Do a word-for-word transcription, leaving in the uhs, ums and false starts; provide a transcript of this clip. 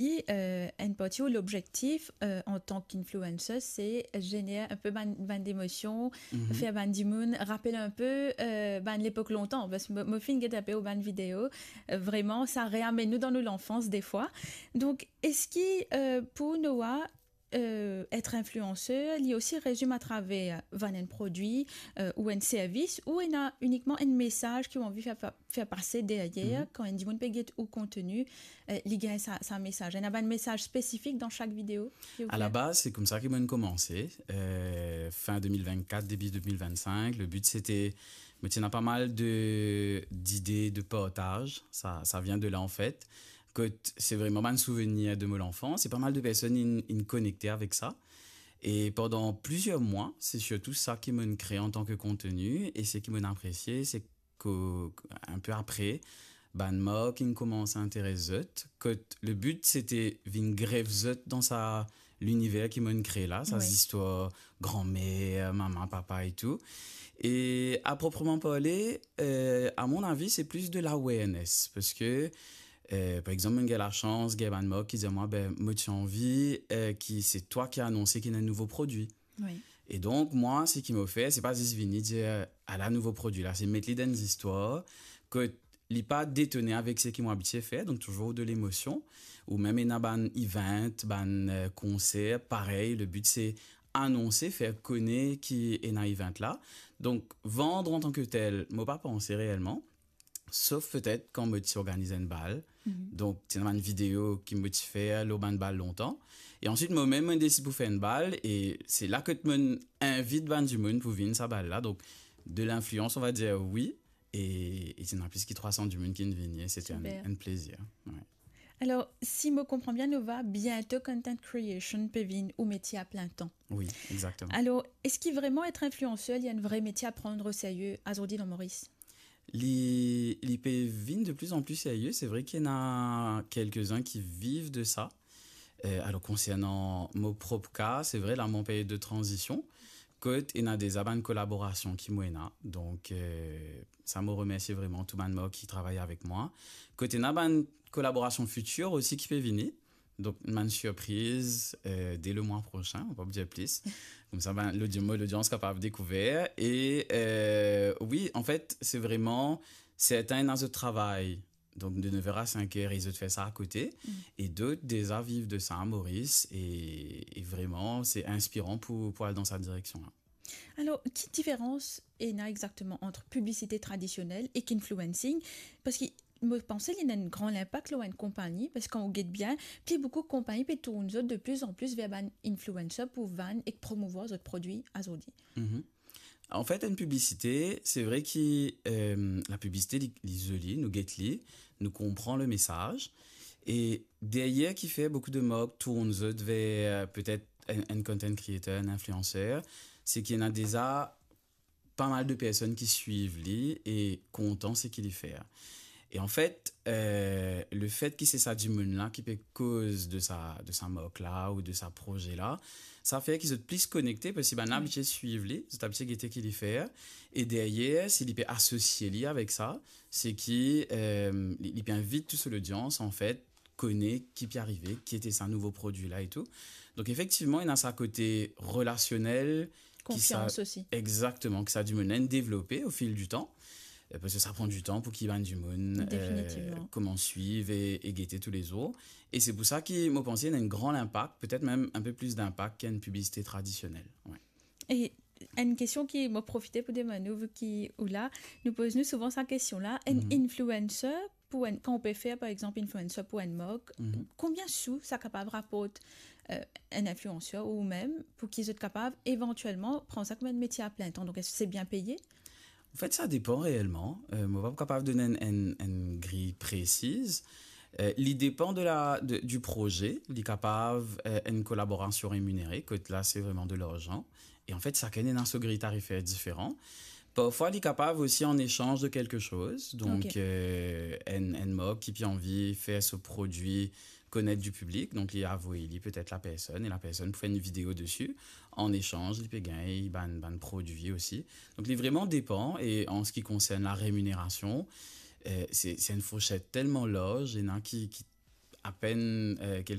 E, euh, enn parti ou lobzektif, euh, antan ki influencer, se zener enn pe bann, bann emosion, fer bann dimoun rapel enn pe, euh, bann lepok lontan. Parski mo, mo finn get enn pe ou bann video, euh, vreman, sa reamenn nou dan nou lanfans defwa. Donk, eski, euh, pou Noah, euh, et influencer, li osi rezim atraver vann enn prodwi, euh, ou enn servis, ou ena inikman enn mesaz ki ou anvi fer pa-, fer pase deryer, kan enn dimoun pe get ou konteni, euh, li gagn sa, sa mesaz. Ena bann mesaz spesifik dan sak video ki ou fer? A la baz, se koumsa ki mo'nn koumanse. Euh, fin de mil vennkat, debi de mil vennsink, le but sete, mo ti ena pa mal de, dide de partaz. Sa, sa vien de la, an fet. Kot se vreman bann souvenir de mo lanfans, e pa mal de personn inn, inn konekte avek sa. E pandan plizier mwa, se sirtou sa ki mo'nn kree antan ki konteni, e seki mo'nn apresie, se ki, enn pe apre, bann mark inn koumans interes zot, kot le but sete vinn grev zot dan sa liniver ki mo'nn kree la, sa zistwar granmer, mama, papa e tou. E a propreman parle, euh, a mon avi, se plis de l'awareness, parski, euh, par exanp, mo'nn gagn lasans, gagn bann mark ki dir mwa, be, mo ti anvi, euh, ki se twa ki anonse ki ena enn nouvo prodwi. Wi. E donk, mwa, seki mo fer, se pa zis vini dir, "Ala nouvo prodwi la", se met li dan enn zistwar, kot li pa detone avek seki mo abitie fer, donk touzour de lemosion, ou mem ena bann event, bann, euh, konser, parey, le but se anonse, fer kone ki ena event la. Donk, vann antan ki tel, mo pa panse reelman, sof petet kan mo ti organiz enn bal. Donk, ti ena bann video ki mo ti fer lor bann bal lontan. E answit, mo mem, mo desid pou fer enn bal, e se la kot mo'nn invit bann dimoun pou vinn sa bal la. Donk, de l'influence, on va dire, wi, e, e ti ena plis ki trwa san dimoun ki'nn vini, e sete enn, super, enn plezir. Wi. Alor, si mo konpran bien, Noah, biento content creation pe vinn ou metie a plin tan. Wi, exakteman. Alor, eski vreman et influencer, li enn vre metie a pran o serye azordi dan Moris? Li, li pe vinn de plus en plus serye. Se vre ki ena kelkezinn ki viv de sa. Euh, alor, konsernan mo prop ka, se vre, la, mo an peryod de tranzision, kot ena deza bann kolaborasion ki mo ena. Donk, euh, sa, mo remersie vreman tou bann mark ki travay avek mwa. Kot ena bann kolaborasion fitir osi ki pe vini. Donk, bann sirpriz, euh, de le mwa prosin, mo pa pou dir plis. Koumsa, ben, lodi-, mo lodians kapav dekouver. E, euh, wi, an fet, se vreman, sertin ena zot travay, donk de nev er a sink er, e zot fer sa akote, e dot deza viv de sa, Moris, e, e vreman, se inspiran pou, pou al dan sa direksion la. Alor, ki diferans ena exakteman ant piblisite tradisionel ek influencing? Parski mo panse li ena enn gran linpak lor enn konpagni, parski kan ou get bien, pli boukou konpagni pe tourn zot de plus en plus ver bann influencer pou vann ek promouvwar zot prodwi azordi. Mhm. An fet, enn piblisite, se vre ki, euh, lapiblisite, li, li zoli, nou get li, nou konpran lemesaz. E deryer ki fer boukou de mark tourn zot ver, euh, petet enn, enn content creator, enn influencer, se ki ena deza pa mal de personn ki swiv li e kontan seki li fer. E an fet, euh, lefet ki se sa dimoun la ki pe koz de sa, de sa mark la ou de sa proze la, sa fer ki zot plis konekte, parski bann la abitie swiv li, zot abitie gete ki li fer, e deryer, si li pe asosie li avek sa, se ki, euh, li, li pe invit tou so lodians, an fet, kone ki pe arive, ki ete sa nouvo prodwi la e tou. Donk, efektivman, ena sa kote relasionel, ki sa, konfians osi. Exakteman, ki sa dimoun la inn devlope o fil di tan. Euh, parski sa pran di tan pou ki bann dimoun, euh, definitivman, koumans swiv e, e gete toulezour. E se pou sa ki, mo panse, ena enn gran linpak, petet mem enn pe plis linpak ki enn piblisite tradisionel. Wi. E enn kestion ki mo profite pou demann ou, vi ki ou la, nou poz nou souvan sa kestion la, enn influencer pou enn, kan ou pe fer, par exanp, influencer pou enn mark, konbien sou sa kapav raport, euh, enn influencer ou mem pou ki zot kapav evantielman pran sa kouma enn metie a plin tan? Donk, eski se bien peye? An fet, sa depan reelman. Euh, mo pa kapav donn enn, enn, enn griy presiz. Euh, li depan de la, de, di proze. Li kapav, euh, enn kolaborasion reminere, kot la, se vreman de larzan. E an fet, sakenn ena so griy tarifer diferan. Parfwa, li kapav osi an esanz de kelke soz. Donk, euh, enn, enn mark ki pe anvi fer so prodwi konet di piblik, donk li avoy li petet lapersonn, e lapersonn pou fer enn video desi. An esanz, li pe gagn bann, bann prodwi osi. Donk, li vreman depan, e an se ki konsern la reminerasion, euh, se, se enn fourset telman larz, ena ki, ki apenn, euh,